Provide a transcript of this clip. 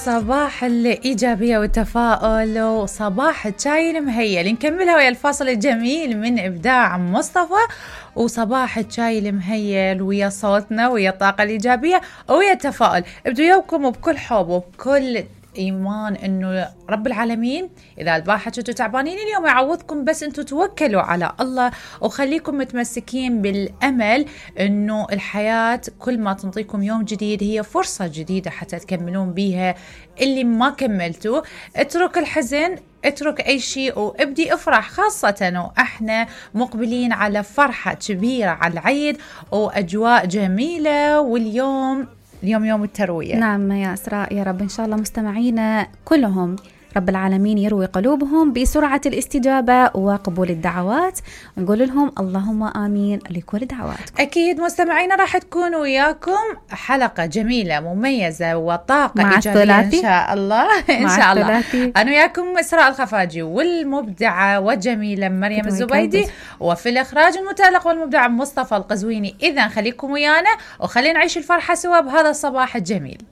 صباح الإيجابية والتفاؤل وصباح الشاي المهيل. نكملها ويا الفاصل الجميل من إبداع مصطفى، وصباح الشاي المهيل ويا صوتنا ويا الطاقة الإيجابية ويا التفاؤل. ابدو يومكم وبكل حب وبكل إيمان إنه رب العالمين إذا البارحة كنتوا تعبانين اليوم يعوضكم، بس أنتوا توكلوا على الله وخليكم متمسكين بالأمل إنه الحياة كل ما تنطيكم يوم جديد هي فرصة جديدة حتى تكملون بيها اللي ما كملتوا. اترك الحزن، اترك أي شيء وابدي افرح، خاصة وإحنا مقبلين على فرحة كبيرة على العيد وأجواء جميلة، واليوم يوم التروية. نعم يا إسراء، يا رب إن شاء الله مستمعينا كلهم رب العالمين يروي قلوبهم بسرعة الاستجابة وقبول الدعوات، ونقول لهم اللهم آمين لكل دعواتكم. أكيد مستمعينا راح تكون وياكم حلقة جميلة مميزة وطاقة إيجابية إن شاء الله. إن شاء الله أنا وياكم إسراء الخفاجي والمبدعة والجميلة مريم الزبيدي، وفي الإخراج المتألق والمبدع مصطفى القزويني. إذن خليكم ويانا وخلينا نعيش الفرحة سوا بهذا الصباح الجميل.